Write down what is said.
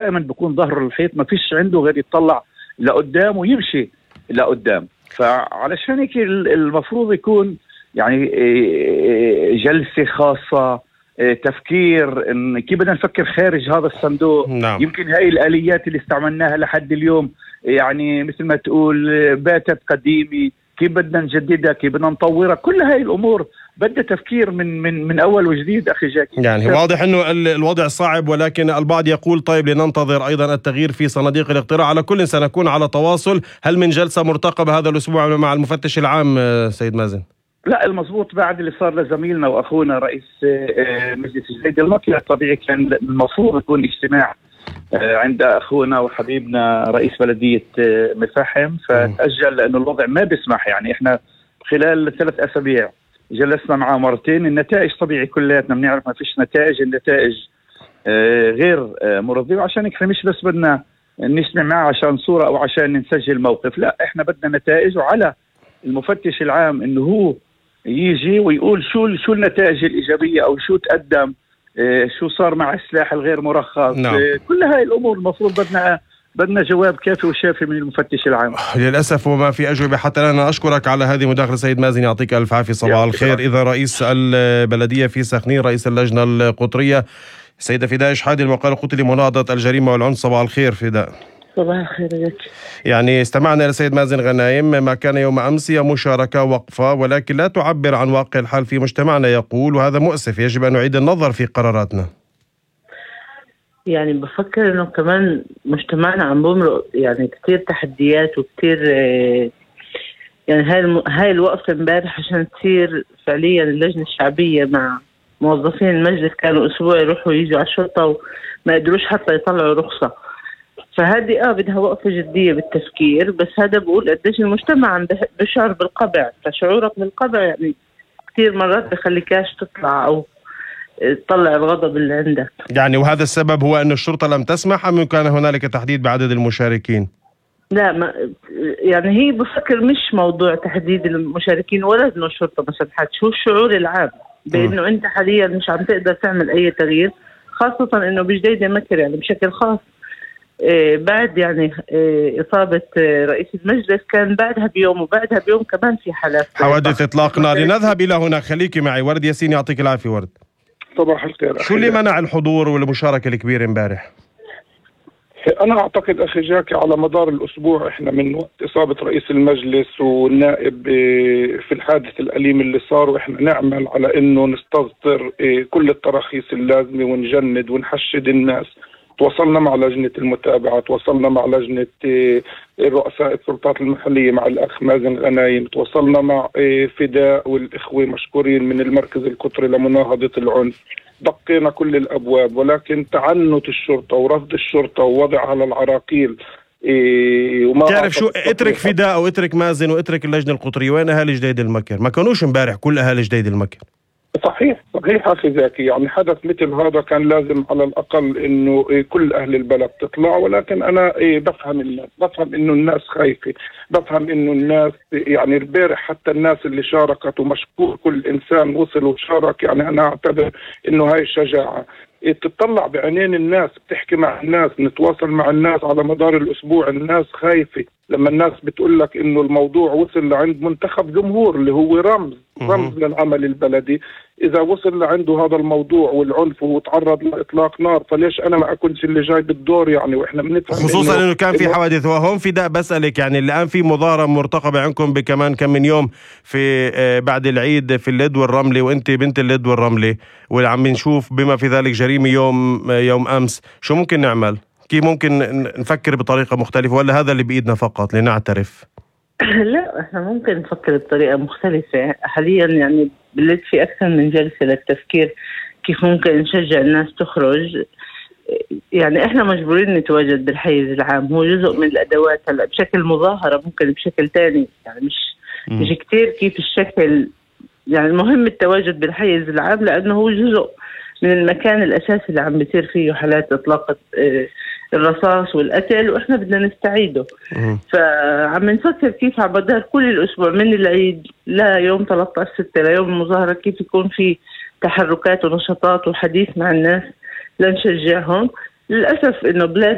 دائما بيكون ظهره الحيط، ما فيش عنده غير يطلع لقدام ويمشي لقدام. فعلشان هيك المفروض يكون يعني جلسة خاصة، تفكير إن كيف بدنا نفكر خارج هذا الصندوق. نعم. يمكن هاي الآليات اللي استعملناها لحد اليوم يعني مثل ما تقول باتت قديمة، كيف بدنا نجددها، كيف بدنا نطورها، كل هاي الأمور بدها تفكير من أول وجديد أخي جاكي. يعني واضح أنه الوضع صعب، ولكن البعض يقول طيب لننتظر أيضا التغيير في صناديق الاقتراع. على كل سنكون على تواصل. هل من جلسة مرتقبة هذا الأسبوع مع المفتش العام سيد مازن؟ لا، المضبوط بعد اللي صار لزميلنا وأخونا رئيس مجلس جديد المكر طبيعي كان المفروض يكون اجتماع عند أخونا وحبيبنا رئيس بلدية مفاحم، فتأجل لأنه الوضع ما بيسمح. يعني إحنا خلال 3 أسابيع جلسنا معاه مرتين، النتائج طبيعي كلياتنا بنعرف ما فيش نتائج، النتائج غير مرضية. وعشان هيك مش بس بدنا نسمع معاه عشان صورة أو عشان نسجل موقف، لا إحنا بدنا نتائج، وعلى المفتش العام إنه هو يجي ويقول شو النتائج الإيجابية أو شو تقدم، شو صار مع السلاح الغير مرخص. نعم. كل هاي الأمور المفروض بدنا جواب كافي وشافي من المفتش العام. للأسف وما في أجوبة حتى الآن. أشكرك على هذه المداخلة سيد مازن، يعطيك ألف عافية. صباح الخير. إذا رئيس البلدية في سخنين، رئيس اللجنة القطرية، سيدة فداء شحادي، المقال القطري لمناهضة الجريمة والعنف. صباح الخير فداء. صباح الخير لك. يعني استمعنا إلى السيد مازن غنايم، ما كان يوم أمس هي مشاركة وقفة، ولكن لا تعبر عن واقع الحال في مجتمعنا يقول، وهذا مؤسف. يجب أن نعيد النظر في قراراتنا. يعني بفكر إنه كمان مجتمعنا عم بمرق يعني كتير تحديات وكتير يعني هاي الوقفة امبارح عشان تصير فعليا اللجنة الشعبية مع موظفين المجلس كانوا أسبوع يروحوا يجوا على الشرطة وما قدروش حتى يطلعوا رخصة. فهذه بدها وقفة جدية بالتفكير. بس هذا بقول قديش المجتمع عم بشعر بالقبع، فشعورك بالقبع يعني كتير مرات بخليكاش تطلع أو تطلع الغضب اللي عندك. يعني وهذا السبب هو أن الشرطة لم تسمح، أم كان هنالك تحديد بعدد المشاركين؟ لا، ما يعني هي بفكر مش موضوع تحديد المشاركين ولا إنه الشرطة ما سمحت. شو الشعور العام بأنه أنت حاليا مش عم تقدر تعمل أي تغيير، خاصة إنه بجديدة مكر يعني بشكل خاص بعد يعني إصابة رئيس المجلس كان بعدها بيوم، وبعدها بيوم كمان في حوادث إطلاق نار. لنذهب إلى هنا، خليكي معي. ورد ياسين، يعطيك العافية. ورد، صباح الخير. شو اللي منع الحضور والمشاركة الكبيرة امبارح؟ أنا أعتقد أخي جاكي على مدار الأسبوع إحنا من وقت إصابة رئيس المجلس والنائب في الحادث الأليم اللي صار، وإحنا نعمل على إنه نستصدر كل التراخيص اللازمة ونجند ونحشد الناس. تواصلنا مع لجنة المتابعة، تواصلنا مع لجنة رؤساء السلطات المحلية مع الأخ مازن غنايم، تواصلنا مع فداء والإخوة مشكورين من المركز القطري لمناهضة العنف. دقينا كل الأبواب، ولكن تعنت الشرطة ورفض الشرطة ووضعها للعراقيل. وما تعرف شو، اترك فداء أو اترك مازن واترك اللجنة القطرية، وين أهالي جديد المكر؟ ما كانوش امبارح كل أهالي جديد المكر. صحيح أخي زاكي، يعني حدث مثل هذا كان لازم على الأقل إنه كل أهل البلد تطلع. ولكن أنا بفهم الناس، بفهم إنه الناس خايفة، بفهم إنه الناس يعني البارح حتى الناس اللي شاركت، ومشكور كل إنسان وصل وشارك. يعني أنا أعتبر إنه هاي الشجاعة تطلع بعينين الناس، بتحكي مع الناس، نتواصل مع الناس على مدار الأسبوع. الناس خايفة لما الناس بتقول لك إنه الموضوع وصل لعند منتخب جمهور اللي هو رمز للعمل البلدي. إذا وصل لعنده هذا الموضوع والعنف وتعرض لإطلاق نار، فليش أنا ما أكونش اللي جاي بالدور؟ يعني وإحنا بنفهم، خصوصا إنه كان في حوادث. وهم فداء بسألك، يعني الآن في مظاهرة مرتقبة عندكم بكمان كم من يوم في بعد العيد في اللد والرملة، وأنت بنت اللد والرملة، وعم نشوف بما في ذلك جريمة يوم أمس. شو ممكن نعمل؟ كيف ممكن نفكر بطريقة مختلفة، ولا هذا اللي بإيدنا فقط لنعترف؟ لا، احنا ممكن نفكر بطريقة مختلفة. حاليا يعني بلد في أكثر من جلسة للتفكير كيف ممكن نشجع الناس تخرج. يعني احنا مجبورين نتواجد بالحيز العام، هو جزء من الأدوات. هلا بشكل مظاهرة ممكن بشكل تاني، يعني مش كتير كيف الشكل. يعني المهم التواجد بالحيز العام، لأنه هو جزء من المكان الأساسي اللي عم بيصير فيه حالات إطلاق الرصاص والقتل، وإحنا بدنا نستعيده. فعم نفكر كيف على مدار كل الأسبوع من العيد ليوم 13/6 ليوم المظاهرة كيف يكون في تحركات ونشاطات وحديث مع الناس لنشجعهم. للأسف إنه بلاد